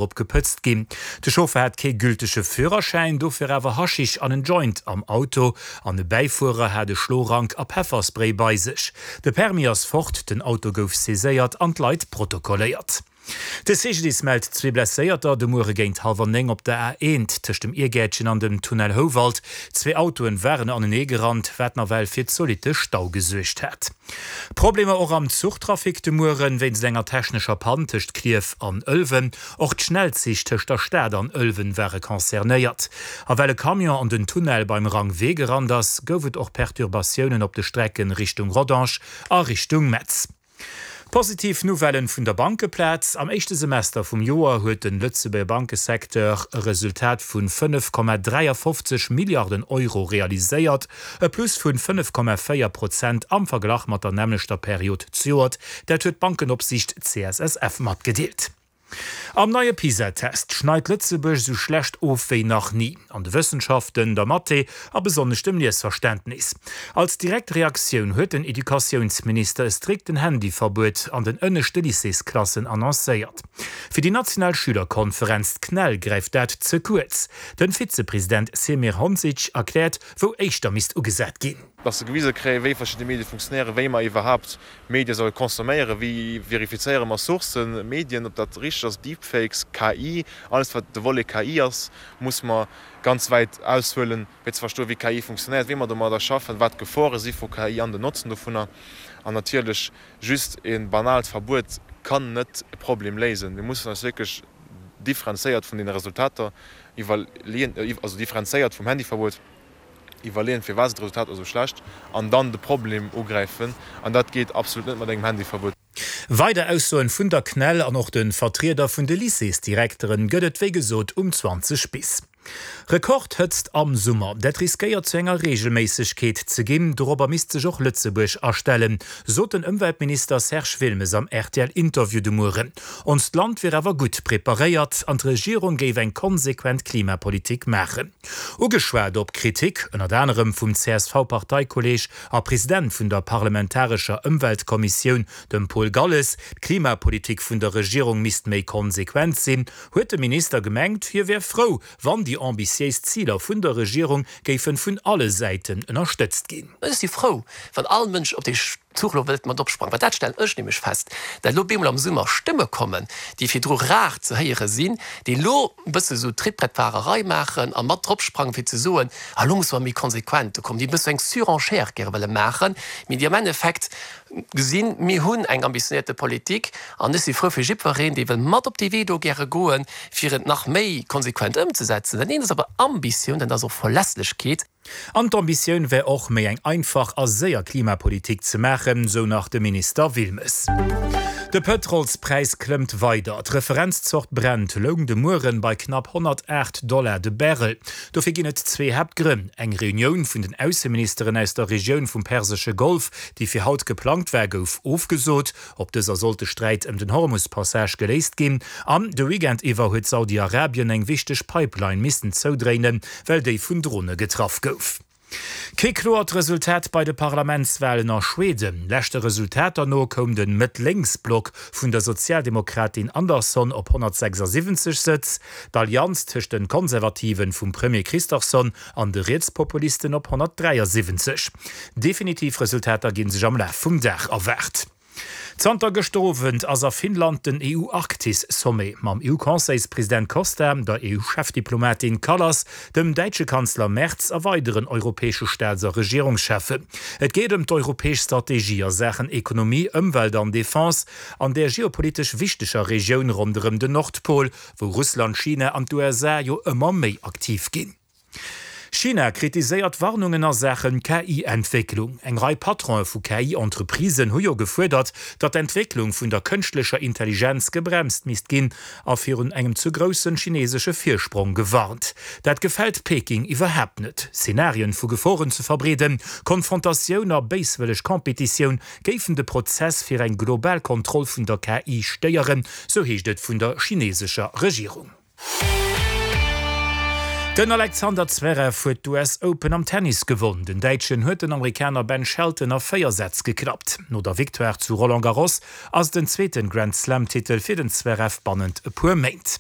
Op gepëtzt ginn. De Chauffer hat kee gültege Führerschäin, dofir awer Haschisch an en Joint am Auto an e Bäifuerer hat e Schlorank a Pefferspray bei sech. De Permis ass fort, den Auto gouf saiséiert an d'Leit protokolléiert. De CGDIS mellt zwee Blesséierter de Muere géint hallwer 9 op der A1 tëscht dem Iergäertchen an dem Tunnel Houwald. Zwee Autoen waren anenee gerannt, wat nawell fir zolitte Stau gesuergt hat. Problemer och am Zuchtrafic de Mueren wéinst enger technescher Pann tëscht Klierf an Ëlwen. Och d'Schnellzich tëscht der Stad an Ëlwen ware concernéiert. A well e Camion an den Tunnel beim Rang Wee gerannt ass, gouf et och Perturbatiounen op de Strecken Richtung Rodange a Richtung Metz. Positiv Nouvellen vun der Bankeplaz, Am éischte Semester vum Joer huet den Lëtzebuerger Bankesecteur e Resultat vun 5,53 Milliarden Euro realiséiert, e Plus vun 5,4 Prozent am Verglach mat der nämmlechter Period zejoert. Dat huet d'Bankenopsiicht CSSF matgedeelt. Am neie PISA-Test schneit Lëtzebuerg esou schlecht of wéi nach ni, an de Wëssenschaften, der Mathé a besonnesch dem Liesverständnis. Als direkt Reaktioun huet den Educatiounsminister e strikten Handyverbuet an den ënneschte Lycéesklassen annoncéiert. Fir déi national Schülerkonferenz, d'CNEL, gräift dat ze kuerz. Den Vizepresident Semir Honsic erkläert, wou éischter misst ugesat ginn. Dass se gewise kréien, wéi verschidde Medie funktionéieren, wéi mer iwwerhaapt Medie solle consomméieren, wéi verifizéiere mer Sourcen, Medien, ob dat richteg ass, Deepfakes, KI, alles wat de Volet KI ass, muss mer ganz wäit aushuelen, fir ze verstoen, wéi KI funktionéiert, wéi mer domadder schaffen, wat d'Gefore si vu KI an den Notzen dovunner. An natierlech, just e banaalt Verbuet kann net e Problem léisen. Mir mussen eis wierklech differenzéiert vun deene Resultater iwwerleeën, also differenzéiert vum Handyverbuet, Iwwerleeën, firwat sinn d'Resultater esou schlecht an dann de Problem ugräifen. An dat geet absolut net mat engem Handyverbuet. Weider Aussoen vun der CNEL an och de Vertrieder vun de Lycéesdirekteren gëtt et wéi gesot um 20 bis. Rekordhëtzt am Summer, dat riskéiert zu enger Reegelméissegkeet ze ginn. Dorobber misst sech och Lëtzebuerg astellen, sot den Ëmweltminister Serge Wilmes am RTL-Interview de Mueren. Onst Land wier awer gutt preparéiert an d'Regierung géif eng konsequent Klimapolitik maachen. Ugeschwat op Kritik, ënnert anerem vum CSV-Parteikolleeg a President vun der parlamentarescher Ëmweltkommissioun, dem Paul Galles, d'Klimapolitik vun der Regierung misst méi konsequent sinn, huet de Minister gemengt, hie wär frou, wann déi ambitiéis Ziler vun der Regierung géifen vun alle Säiten ënnerstëtzt ginn. Ech si frou, wann all Mënsch op dee Zuch elo wëllt mat opsprangen, well dat stellen ech nämlech fest, dat elo bemol am Summer Stëmme kommen, déi virdru rar ze héiere sinn, déi elo e bësse sou Trittbrettfahrerei maachen a mat dropsprangen, fir ze soen, ah elo musse mer méi konsequent do kommen, déi e bësse eng Surenchère gäre wëlle maachen, mee déi am Endeffekt gesinn, mir hunn eng ambitionéierte Politik an ech si frou fir jiddwereen, dee wëll mat op dee Wee do gäre goen, fir et nach méi konsequent ëmzesetzen. Dat eent ass awer Ambitioun, dat ass och Verlässlechkeet. An d'Ambitioun wär och, méi eng einfach a séier Klimapolitik ze maachen, sou nach de Minister Wilmes. De Pëtrolspräis klëmmt weider. D'Referenzzort Brent loung de Mueren bei knapp 108 Dollar de Barrel. Dofir ginn et zwee Haaptgrënn, Eng Reunioun vun den Ausseministeren aus der Regioun vum Persesche Golf, déi fir haut geplangt war, gouf ofgesot. Op dëser sollt de Sträit ëm den Hormus-Passage geléist ginn. An de Weekend iwwer huet Saudi-Arabien eng wichteg Pipeline missen zoudréinen, well déi vun Drone getraff gouf. Kee kloert Resultat bei de Parlamentswalen a Schweden. Leschte Resultater no koum de Mëtt-Lénks-Block vun der Sozialdemokratin Andersson op 176 Sëtz, d'Allianz tëscht de Konservativen vum Premier Kristersson an de Rietspopulisten op 173. Definitiv Resultater gi sech am Laf vum Dag erwaart. Zanter gëschter Owend ass a Finnland den EU-Arktis-Sommet mam EU-Conseilspresident Costa, der EU-Chefdiplomatin Kallas, dem däitsche Kanzler Merz a weideren europäesche Staats a Regierungscheffen. Et geet ëm d'europäesch Strategie a Saachen Ekonomie, Ëmwelt an Defense an där geopolitesch wichteger Regioun ronderëm den Nordpol, wou Russland, China an d'USA jo ëmmer méi aktiv ginn. China kritiséiert Warnungen a Saache KI-Entwécklung. Eng Rei Patronë vu KI-Entreprisen hu jo gefuerdert, datt d'Entwécklung vun der kënschtlecher Intelligenz gebremst misst ginn a virun engem ze groussen chinesesche Virsprong gewarnt. Dat gefält Peking iwwerhaapt net. Szenarien vu Geforen ze verbreeden, Konfrontatioun a béiswëlleg Competitioun géifen de Prozess fir eng global Kontroll vun der KI stéieren, sou heescht et vun der chinesescher Regierung. Den Alexander Zverev huet d'US Open am Tennis gewonn. Den Däitschen huet den Amerikaner Ben Shelton a 4 Sätz geklappt. No der Victoire zu Roland Garros ass et den zweeten Grand Slam Titel fir den Zverev bannent e puer Méint.